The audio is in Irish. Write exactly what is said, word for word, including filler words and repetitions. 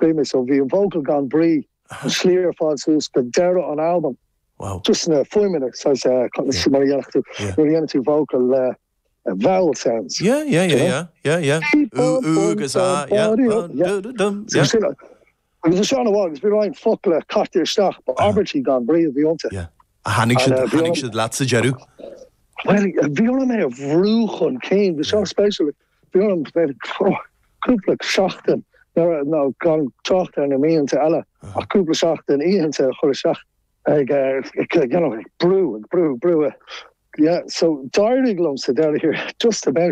Scríobh mé so bhí an vocal gan brí an slí ar fad suas go deireadh an album. Wow. Just na fuaimeanna mar a dhéanann tú nuair a dhéanann tú vocal le uh, vowel sounds. Yeah, yeah, yeah, yeah, yeah, yeah. Ú, ú, agus a, yeah. Yeah. Du, du, dum, So yeah. sin agus is sean agus bhí roinnt focla caite isteach ba abairtí gan brí a bhí iontu. Yeah. A tháinig siad And, uh, bhí tháinig an- siad leat sa deireadh. Well, bhí orm é a bhrú chun cinn, bhí seo spéisiúil bhí orm cúpla seachtain nó gan trácht ar na míonna eile ach cúpla seachtain oícheanta a chur isteach ag ag you know, ag brú ag brú brú. Yeah, so d'éirigh liom sa deireadh here just about